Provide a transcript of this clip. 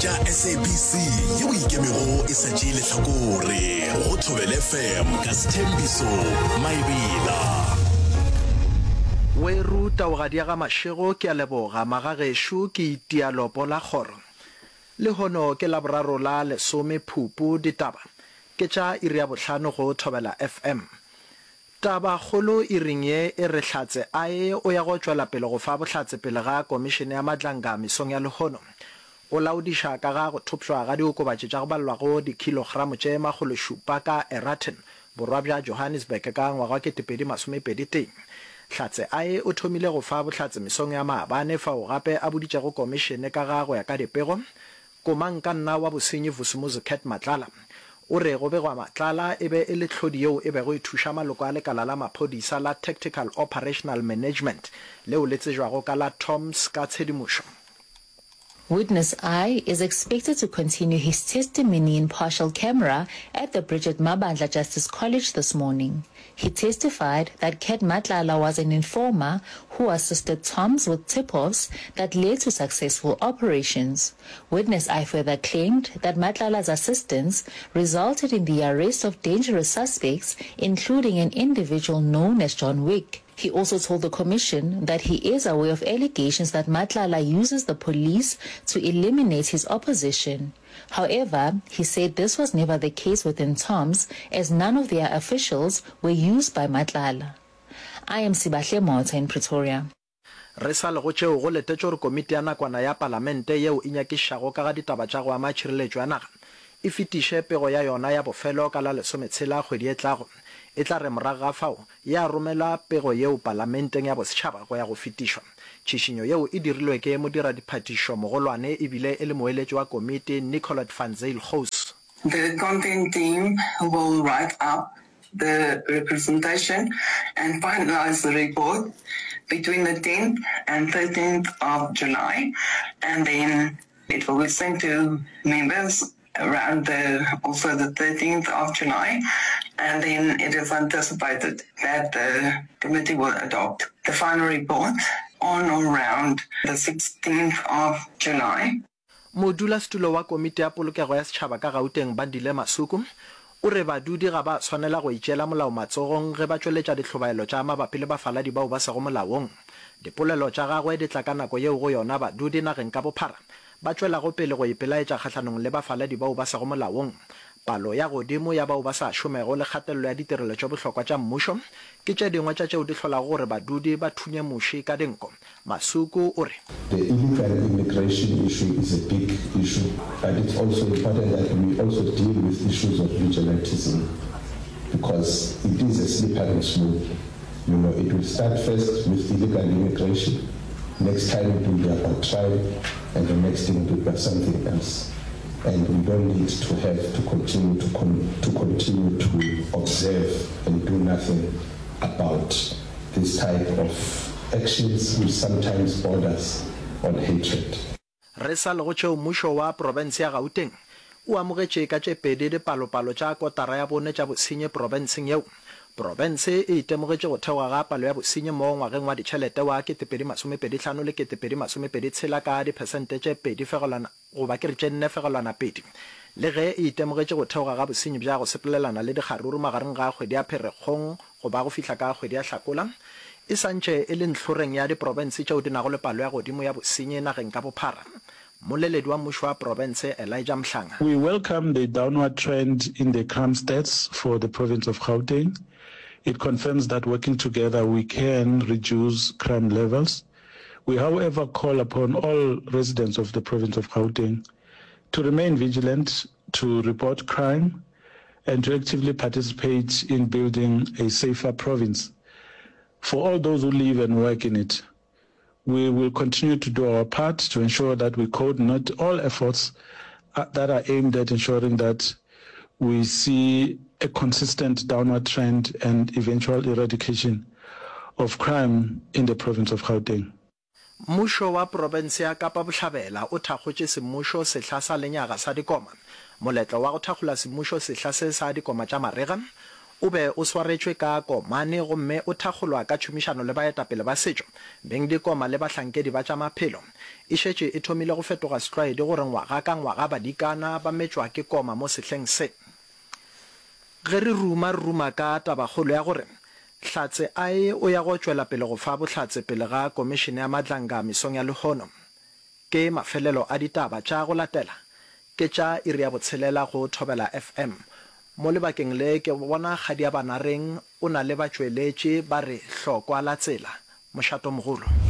tša SABC yeo e ikemego e sa tšee lehlakore go Thobela FM ka Sthembiso Maebela. Weru taogadi ya ga Mashego ke a leboga magagešo ke itia lopo la kgoro. Lehono ke Laboraro la lesome Phupu ditaba ke tša iri ya bohlano go Thobela FM. Taba kgolo iring ye e re Hlatse I o ya go tšwela pele go fa bohlatse pele ga Komišene ya Madlanga mesong ya lehono. O laodiša ka ga go thopšwa ga diokobatši tša go balelwago dikhilogramo tše makgološupa ka Eraton, borwa bja Johannesburg ka ngwaga wa 2021. Hlatse I o thomile go fa bohlatse mesong ya maabane fao gape a boditšego komišene ka ga go ya ka dipego Komangkanna wa bosenyi Vusumuzi Cat Matlala o re go begwa Matlala e be e le tlhodi yeo e bego e thuša maloko a lekala la maphodisa la Tactical Operational Management leo le tsejwago ka la TOMS ka tshedimošo. Witness I is expected to continue his testimony in partial camera at the Bridget Mabandla Justice College this morning. He testified that Cat Matlala was an informer who assisted Toms with tip-offs that led to successful operations. Witness I further claimed that Matlala's assistance resulted in the arrest of dangerous suspects, including an individual known as John Wick. He also told the commission that he is aware of allegations that Matlala uses the police to eliminate his opposition. However, he said this was never the case within Toms as none of their officials were used by Matlala. I am Sibahle Motha in Pretoria. Re sa le go tšeo, go letetšwe gore komiti ya nakwana ya palamente yeo e nyakišišago ka ga ditaba tša go ama tšhireletšo ya naga e fetiše pego ya yona ya bofelo ka la lesometshela kgwedi e tlago. E tla re morago ga fao ya romela pego yeo palamenteng ya bosetšhaba go ya go fetišwa. Tšhišinyo yeo e dirilwe ke modiradiphatišo mogolwane e bile e le moeletši wa komiti Nicolette van Zyl Gous. The content team will write up the representation and finalize the report between the 10th and 13th of July, and then it will be sent to members around the also the 13th of July, and then it is anticipated that the committee will adopt the final report on or around the 16th of July. Modulasetulo wa Komiti ya Polokego ya Setšhaba ka Gauteng Bandile Masuku o re badudi ga ba swanela go itšeela molao matsogong ge ba tšweletša dihlobaelo tša mabapi le bafaladi bao ba sego molaong. Dipolelo tša gagwe di tla ka nako yeo go yona badudi nageng ka bophara ba tšwelago pele go ipelaetša kgahlanong le bafaladi bao ba sego molaong. Palo ya godimo ya bao ba sa šomego le kgatelelo ya ditirelo tše bohlokwa tša mmušo ke tše dingwe tša tšeo di hlolago gore badudi ba thunye muši ka dinko. Masuku o re. The illegal immigration issue is a big issue, but it's also important that we also deal with issues of vigilantism because it is a slippery slope. You know, it will start first with illegal immigration, next time it will be about tribe, and the next thing it will be something else. And we don't need to have to continue to, con to continue to observe and do nothing about this type of actions which sometimes borders on hatred. Re sa le go tšeo mmušo wa profense ya Gauteng o amogetše ka tše pedi dipalopalo tša kotara ya bone tša bosenyi profenseng yeo. Profense e itemogetše go theoga ga palo ya bosenyi mo ngwageng wa ditšhelete wa 2025 le 2026 ka diphesente tše pedi fegelwana goba ke re tše nne fegelwana pedi. Le ge e itemogetše go theoga ga bosenyi bja go sepelelana le dikgaruru magareng ga kgwedi ya Pherekgong go ba go fihla ka kgwedi ya Hlakola, e sa ntše e le ntlhoreng ya diprofense tšeo di nago le palo ya godimo ya bosenyi nageng ka bophara. Mmoleledi wa mmušo wa profense Elijah Mhlanga. We welcome the downward trend in the crime stats for the province of Gauteng. It confirms that working together we can reduce crime levels. We however call upon all residents of the province of Gauteng to remain vigilant, to report crime and to actively participate in building a safer province for all those who live and work in it. We will continue to do our part to ensure that we coordinate all efforts uh, that are aimed at ensuring that we see a consistent downward trend and eventual eradication of crime in the province of Gauteng. Mmušo wa profense ya Kapa Bohlabela o thakgotše semmušo sehla sa lenyaga sa dikoma. Moletlo wa go thakgola semmušo sehla se sa dikoma tša marega. O be o swaretšwe ka Komane gomme o thakgolwa ka tšhomišano le baetapele ba setšo, bengdikoma le bahlankedi ba tša maphelo. E šetše e thomile go fetoga setlwaedi gore ngwaga ka ngwaga badikana ba metšwa ke koma mo sehleng se. Ge re ruma, re ruma ka tabakgolo ya gore Hlatse I o ya go tšwela pele go fa bohlatse pele ga Komišene ya Madlanga mesong ya lehono. Ke mafelelo a ditaba tša go latela ke tša iri ya botshelela go Thobela FM. Mo lebakeng le ke bona Kgadiabanareng o na le batšweletši ba re hlokwa la tsela. Mošatomogolo.